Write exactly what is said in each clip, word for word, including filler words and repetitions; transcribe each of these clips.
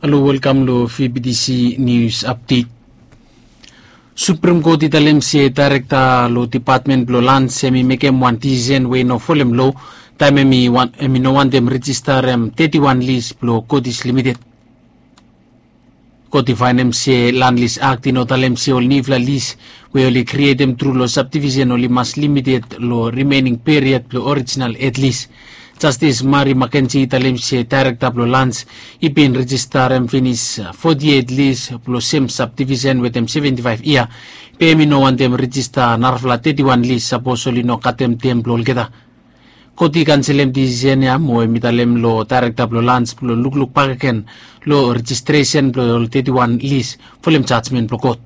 Halo, welkam lo V B T C News Update. Supreme Court i talem se daerekta lo depatmen blo lans hem i mekem wan disisen we i no folem lo taem hem i no wantem rejistarem teti wan lis blo Kotis Limited. Kot i faenem se Land Lease Act i no talem se ol niufala lis we oli krietem tru lo sabdivisen oli mas limited lo rimening period blo orijinal ed lis. Jastis Mari Makenji i talem se daerekta blo lans i bin rejistarem finis foti eit lis blo sem sabdivisen wetem seventi faef yia, be hem i no wantem rejista narafala teti wan lis sapos oli no katem tem blo olgeta. Kot i kanselem disisen ya mo hem i talem lo daerekta blo lans blo lukluk bakegen lo rejistresen blo ol teti wan lis folem jajmen blo kot.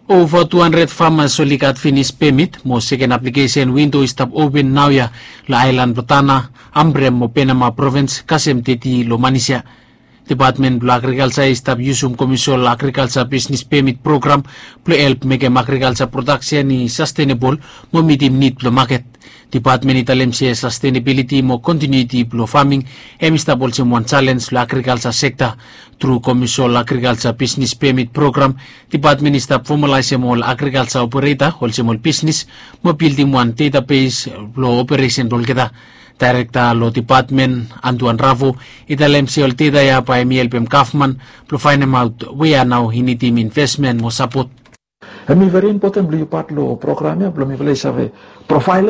Ova tu handred famas oli gat finis pemit mo seken aplikesen windo i stap open naoia lo aelan blo Tana, Ambrem mo Penama provins kasem teti lo manis ya. Depatmen blo agrikalja i stap yusum Komisol Agrikalja Bisnis Pemit Program blo help mekem agrikalja prodaksen i sastenebol mo mitim nid blo maket. Depatmen i talem se sastenebiliti mo kontiniuiti blo faming hem i stap olsem wan jalens lo agrikalja sekta. Tru Komisol Agrikalja Bisnis Pemit Program, depatmen i stap fomalaesem ol agrikalja opereta olsem ol bisnis mo bildim wan detabes blo operesen blo olgeta. Daerekta lo depatmen, Antuan Ravo, i talem se ol deta ya bae hem i helpem gavman blo faenemaot we ya nao i nidim invesmen mo sapot. Hem i veri impoten blo yu pat lo program ya blo mifala i save profaelem